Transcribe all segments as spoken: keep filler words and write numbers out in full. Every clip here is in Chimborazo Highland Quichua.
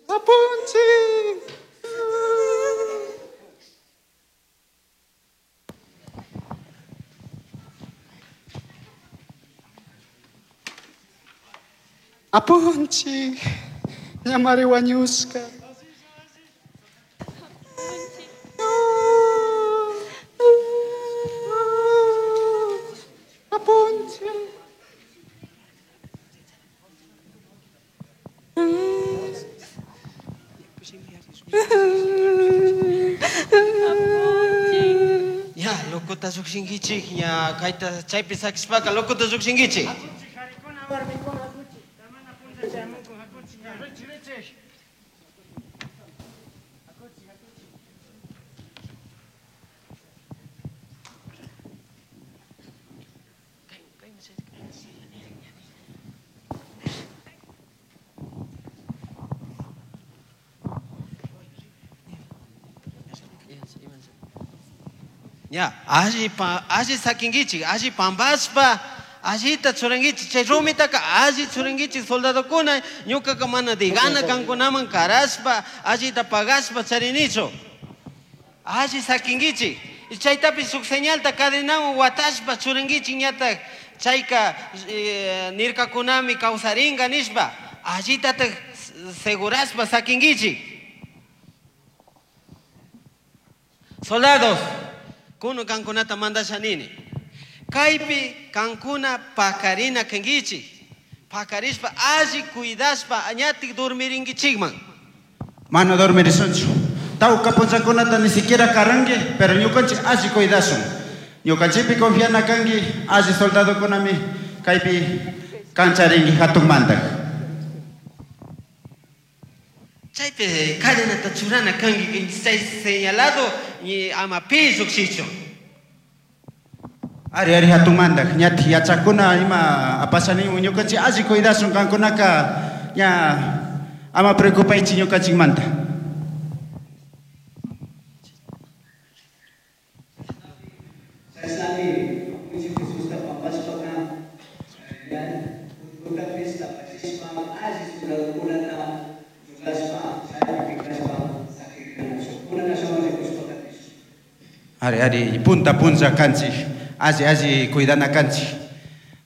Apunchik. Apunchik, ñamari wañushka. Apunchik. Ya, locota llukshinkichik, ña kayta chaypi sakishpaka locota llukshinkichik. Ya, alli pa, alli sakinkichik, alli pampashpa, allita churankichik, chay rumitaka alli churankichik soldadokuna, ñukaka mana digana kankunaman karashpa, allita pagashpa charinichu. Alli sakinkichik, chaytapish shuk señalta cadenawan watashpa churankichik ñatak chayka eh, nirkakunami kawsarinka nishpa, allitatak segurashpa sakinkichik. Soldados, kuno kankunata mandasha nini. Kaypi kankuna pakarina kankichik. Pakarishpa alli cuidashpa añatik dormirinkichikman. Mano dormirisunchu. Tawka punchakunata ni siquiera karanki, pero ñukanchik alli cuidasun. Ñukanchikpi confiana kanki, alli soldadokunami kaypi kancharinki hatun mantak. Chaypi cadenata churana kanki, chay señalado y ama pi llukshichun. Ari ari hatun mantak, ñati yachakuna ima apashanin ñukanchik alli cuidasun kankunaka ña ama preocupaychik ñukanchikmanta. Ari ari punta punta kanchik, alli alli cuidana kanchik,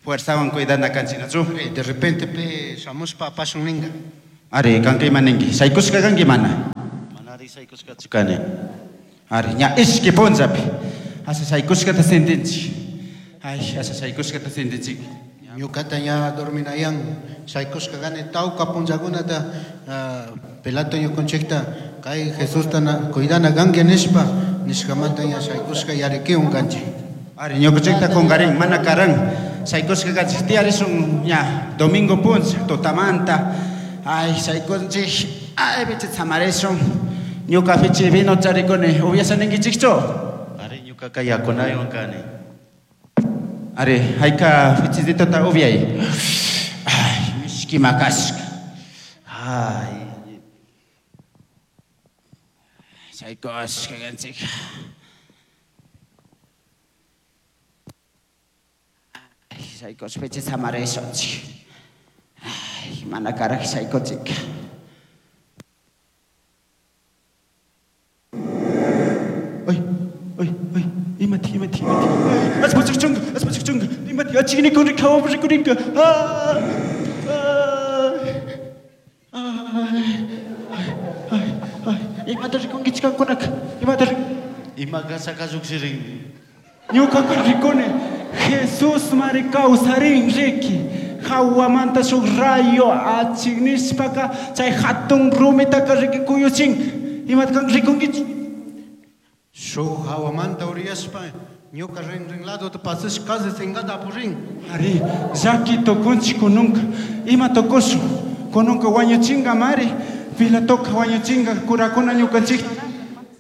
fuerzawan cuidana kanchik, ¿no? De repente pe shamushpa apashun ninga. Ari kanka ima ninki, shaykushka kanki mana. Mana ari shaykushkachu kani. Ari ña ishki punllapi, asha shaykushkata sentinchik. Ay, asha shaykushkata sentinchik. Ñukata ña dorminayan, shaykushka kani tawka punllakunata Pilato ñukanchikta kay Jesusta cuidana kanki nishpa, nishkamanta ña shaykushka yarikiwan kanchik. Ari ñukanchikta kunkarin, mana karan, shaykushka kanchik tiyarisun ña domingo punlla, tutamanta. Ay, shaykunchik, ay, bichi samarishun. Ñuka fichi vino charikuni, ubiasa ninkichikchu? Ari ñukaka yakunaywan kani. Ari, hayka fichititota ubiay. Ay, mishki makashka. Ay. Shaykushka kanchik. Ay, shaykush fichi samarishunchik. Ay, mana karaj shaykuchik. Ay, ay, ay, imati, imati, imati. Aspachichunga, aspachichunga, imati, achignikun rikawa rikurinka. Ah, ay, ay, ay, imata rikunkichik kankunaka, imata rik. Ima kasaka llukshirin. Ñukaka rikuni, Jesús mari kawsarin riki. Hawamanta shuk rayo achignishpaka chay hatun rumitaka riki kuyuchin. Imata kan rikunkichik? Shuk hawamanta uriyashpa ñuka rin rin lado pasash casi singata apurin. Ari, llaki tukunchik kununka. Ima tukushun? Kununka wañuchinga mari. Pilatoka wañuchinga kurakuna ñukanchik.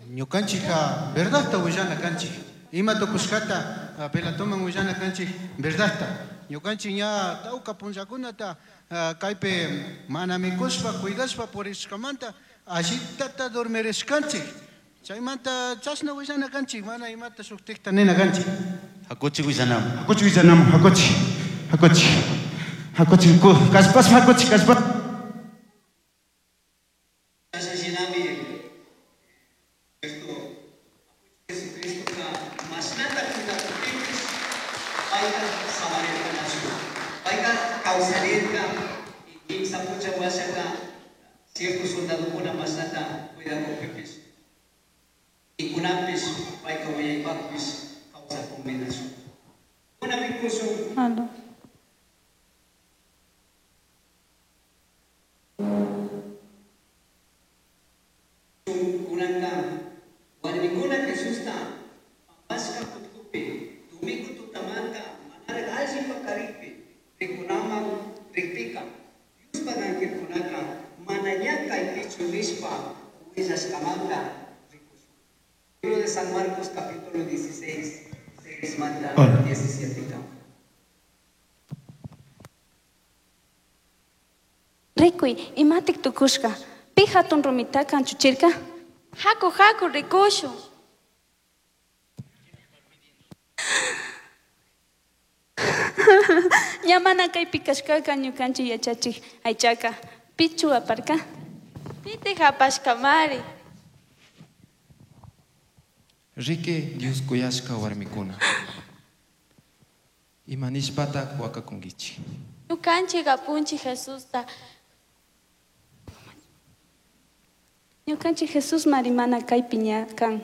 Ñukanchikka verdadta willana kanchik. Ima tukushkata Pilatoman willana kanchik verdadta. Ñukanchik ña tawka punllakunata kaypi mana mikushpa cuidashpa purishkamanta allitata dormirishkanchik. Chaymanta chashna willana kanchik, mana imata shuktikta nina kanchik. Hakuchi willanamu. Hakuchi willanamu, hakuchi, hakuchi, hakuchi, kallpashpa hakuchi, kallpa. Kawsarirka y kimsa puncha washaka cierto soldadokuna mashnata cuidakukpipis y kunanpish payka wiñaypaqpis kawsakunmi nishun. Kuna rikushun Aló. Kunanka warmikuna Jesusta pampashka putkupi domingo tutamanta manaraq alli paqarikpi rikunaman rikpika Diospaq angelkunaka mana ña kaypichu nishpa willashkamanta rikushun. Libro de San Marcos capítulo dieciséis, seis manta diecisiete kama. Rikuy, imatik tukushka. Pi hatun rumitaka anchuchirka? Haku, haku, rikushun. Ña mana kaypi kashkaka ñukanchik yachachik aychaka. Pichu aparka? Pitik apashkamari. Riki Dios kuyashka warmikuna. Ima nishpatak wakakunkichik. Ñukanchik apunchik Jesusta. Ñukanchik Jesús mari mana kaypi ña kan.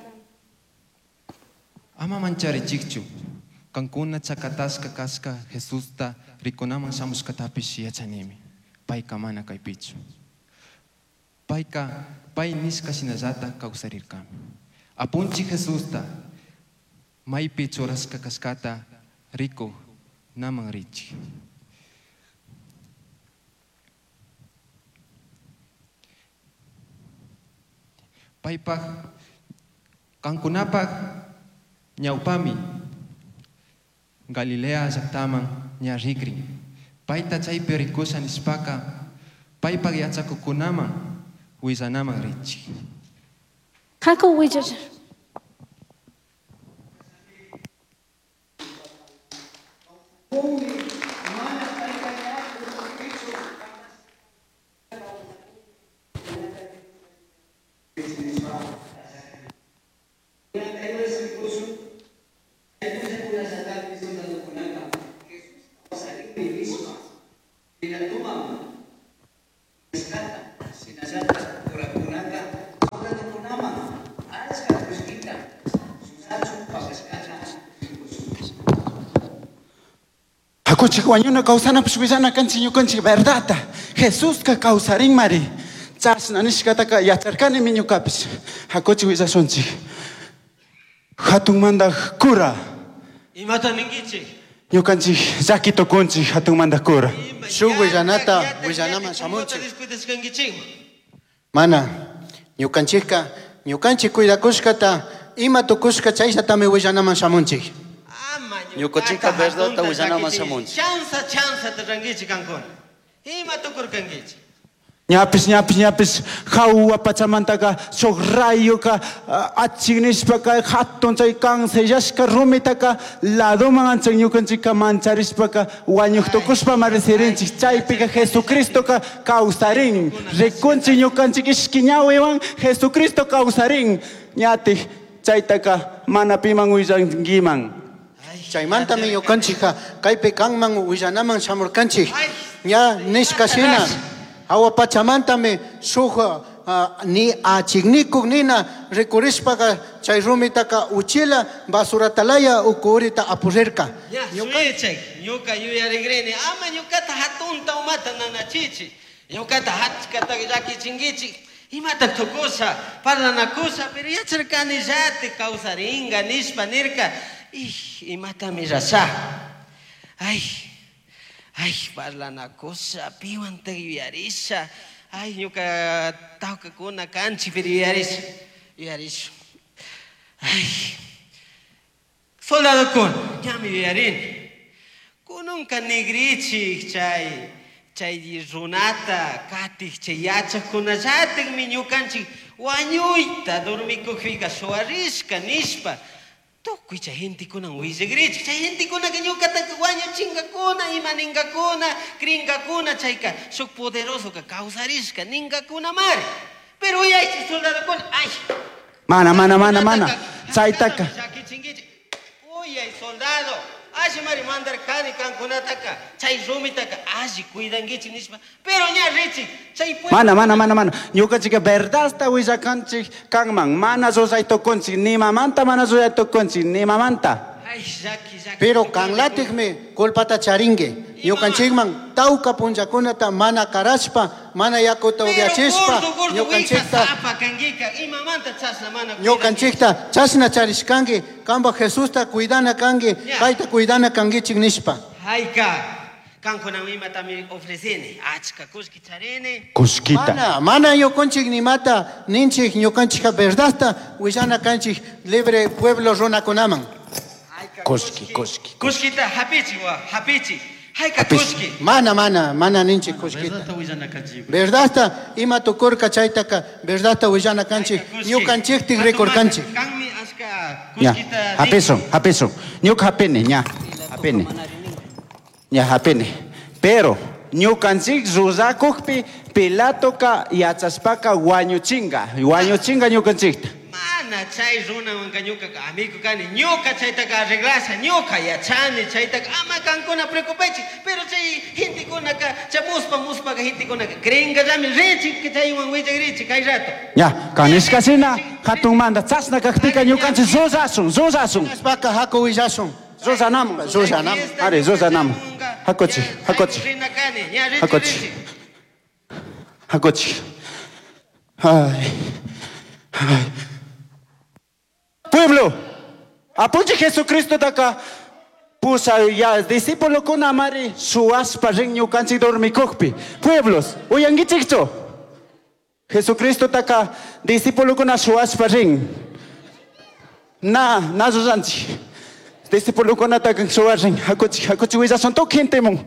Ama mancharichikchu. Kankuna chakatashka kashka Jesusta rikunaman shamushkatapish yachanimi. Payka mana kaypichu. Payka pay nishka shinallata kawsarirkami. Apunchik Jesusta maypi churashka kashkata rikuk naman richik. Paypaq kankunapaq ñawpami Galilea llaqtaman ña rikrin. Payta chaypi rikusha nishpaka paypaq yachakuqkunaman willanaman richik. Haku willasha. Hakuchik wañuna kawsanapish willana kanchik ñukanchik verdadta. Jesuska kawsarinmari. Chashna nishkataka yacharkanimi ñukapish. Hakuchik willashunchik. Hatun mandaj cura. Imata ninkichik? Ñukanchik llaki tukunchik hatun mandaj cura. Shuk willanata willanaman shamunchik. Mana, ñukanchikka ñukanchik cuidakushkata ima tukushka chayllatami willanaman shamunchik. Ñukanchikka verdadta willanaman shamunchik. Chanza, chanza rankichik kankuna. Ima tukurkankichik? Ñapis, ñapis, ñapis, jahua pachamantaka shuk rayoka achik nishpaka hatun chay cancellashka rumitaka ladoman anchan ñukanchikka mancharishpaka wañuq tukushpa marisirinchik. Chaypika Jesucristoka kawsarin. Rikunchik ñukanchik ishki ñawiwan Jesucristo kawsarin. Ñatik chaytaka mana piman willankiman. Chaymantami ñukanchikka kaypi kanman willanaman shamurkanchik. Ña nishka shina. Hawa pachamantami shuk ni achiknikuk nina rikurishpaka chay rumitaka uchila basuratalaya ukurita apurirka. Ya, suyachik, ñuka yuyarikrini ama ñukata hatunta umata nanachichik. Ñukata hachkata llakichinkichik. Imata tukusha, parlanakusha, pero yacharkani llati kawsaringa nishpa nirka. Ij, imatami rasha. Ay, ay, parlanakusha, piwanta yuyarisha. Ay, ñuka tawkakuna kanchik, pero yuyarisha, yuyarisha. Ay, soldadokuna, ñami yuyarini. Kununka nigrichik chay, chay runata katik chay yachaqkunallatikmi ñukanchik wañuyta dormikukpika suwarishka nishpa. Tukuy chay gentekunan willigrichik. Chay gentekunaka ñukataka wañuchinkakuna, ima ninkakuna, krinkakuna, chayka shuk poderosoka kawsarishka ninkakunamari. Pero uyaychik soldadokuna, ay. Mana, mana, mana, mana. Chaytaka. Llakichinkichik. Uyay soldado, Alli mari mandarkani kankunataka chay rumitaka alli cuidankichik nishpa. Pero ña richik chay pueblo. Mana, mana, mana, mana. Ñukanchikka verdadta willakanchik kanman. Mana rurayta tukunchik, nimamanta mana rurayta tukunchik, nimamanta. Ay, llaki, llaki. Pero kanlatikmi culpata charinki. Ñukanchikman tawka punllakunata mana karashpa, mana yakuta Pero upiachishpa, gordo, gordo, ñukanchikta sapa kankika, imamanta chashna mana ñukanchikta chashna charishkanki, kanpa Jesusta cuidana kanki, Ya. payta cuidana kankichik nishpa. Hayka, kankunaman imatami ofrecini, achka kullki charini. Kullkita. Mana, mana ñukanchik nimata ninchik ñukanchikka verdadta willana kanchik libre pueblo runakunaman. Kullki, kullki. Kullkita hapichi wa, hapichi. Hayka Hapichi. kullki. Mana, mana, mana ninchik kullkita. Verdadta willana kanchik. Verdadta ima tukurka chaytaka verdadta willana kanchik ñukanchiktik rikurkanchik. Kanmi achka Ña, kullkita. hapisun, hapisun. Ñuka hapini, ña, hapini. Ña hapini. Pero ñukanchik rurakuqpi Pilatoka yachashpaka wañuchinga, wañuchinga ñukanchikta. Mana chay runawanka ñukaka amigo kani, ñuka chaytaka arreglasha, ñuka yachani chaytaka ama kankuna preocupaychik, pero chay gentekunaka chay muspa muspaka gentekunaka creenkallami richik chaywan willakrichik kay rato. Ña, kanishkashina hatunmanta chashna kakpika ñukanchik rurasun, rurasun. Chashpaka haku willashun. Ruranamun. Ruranamun. Ari, ruranamun. Hakuchik, hakuchik. Rina kani, ña richik Hakuchik. richik. Hakuchik. Ay. Ay. Pueblo, apunchik Jesucristo taka pusa ya discípulo kuna mari suaspa rin ñukanchik dormikukpi. Pueblos, uyankichikchu. Jesucristo taka discípulo kuna suaspa rin. Na, na ruranchik. Discípulo kuna taka suarin. Hakuchik, hakuchik willasun tukuy gentemun.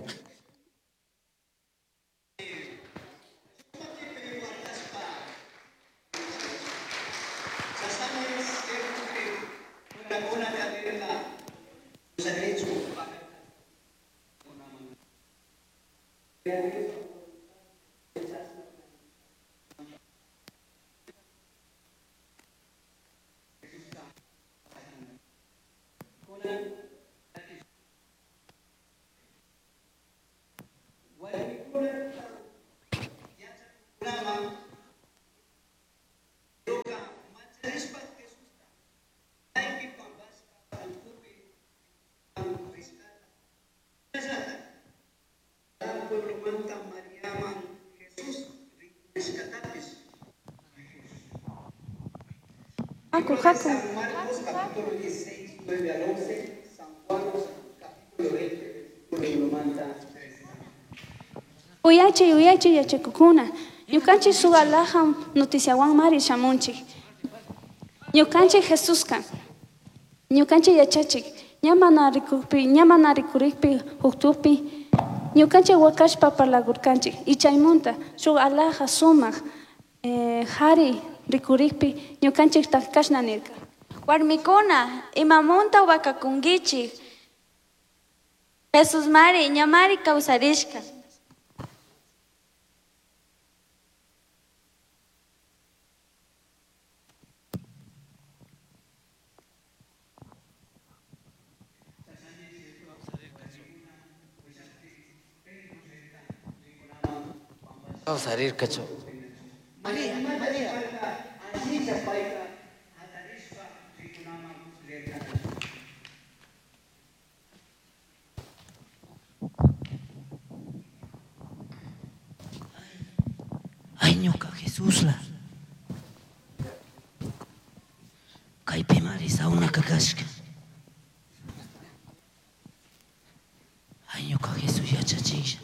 Haku, haku. San Marcos capítulo dieciséis, nueve al once, San Juan capítulo veinte, versículo uno tres. Uyachi, uyachi yachakukuna. Ñukanchik suqalaja noticiawan mari shamunchik. Ñukanchik Jesuska. Ñukanchik yachachik. Ña mana rikukpi, ña mana rikurikpi, huktupi. Ñukanchik wakashpa parlakurkanchik. Y chaymunta shuk alaja sumaq eh, hari rikurikpi ñukanchik kashna nirka. Warmikuna, imamunta wakakunkichik. Jesus mari, ñamari kawsarishka. Kawsarirkachu. María, María. Allilla payta hatarishpa rikunaman rirka. Ay, ñuka Jesusla. Kaypi mari sawnaka kashka. Ay, ñuka Jesús yachachisha.